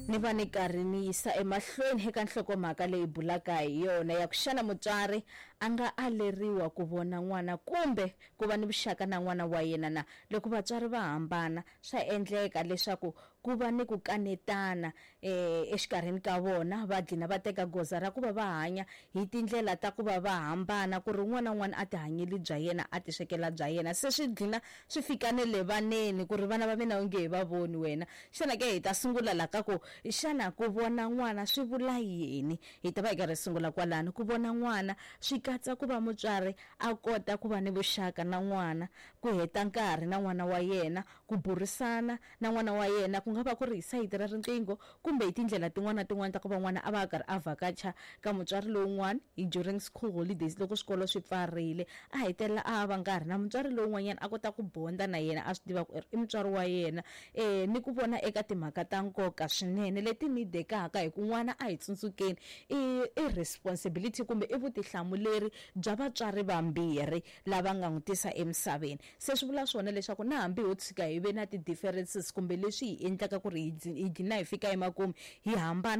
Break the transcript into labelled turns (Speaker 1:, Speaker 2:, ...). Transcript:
Speaker 1: Ni va ni karhi ni yisa emahlweni eka nhlokomhaka leyi bulaka hi yona ya ku xana mutswari a nga aleriwa ku vona n'wana kumbe ku va ni vuxaka na n'wana wa yena na. Loko vatswari va hambana swa endleka leswaku ku va ni ku kanetana exikarhini ka vona, va dlina va teka goza ra ku va va hanya hi tindlela ta ku va va hambana, ku ri un'wana na un'wana a tihanyeli bya yena, a tiswekela bya yena. Se swi dlina swi fika ne le vaneni ku ri vana va mina onge hi va voni wena. Xana ke hi ta sungula la ka ku xana ku vona n'wana swi vula yini? Hi ta va hi karhi hi sungula kwalano. Ku vona n'wana swi katsa ku va mutswari a kota ku va ni vuxaka na n'wana, ku heta nkarhi na n'wana wa yena, ku burisana na n'wana wa yena, ku nga va ku ri hi sayiti ra riqingho kumbe hi tindlela tin'wana na tin'wana ta ku va n'wana a va a karhi a vhakacha ka mutswari lowun'wana hi during school holidays loko swikolo swi pfarile, a hetelela a va nkarhi na mutswari lowun'wanyana a kota ku bonda na yena a swi tiva ku i mutswari wa yena. Ni ku vona eka timhaka ta nkoka swinene leti nidekaka hi ku n'wana a hi tsundzukeni i responsibility kumbe i vutihlamuleri bya vatswari vambirhi lava nga n'wi tisa emisaveni. Se swi vula swona leswaku na hambi ho tshika hi ve na ti-differences kumbe leswi hi endlaka ku ri hi dlina hi fika emakumu hi hambana.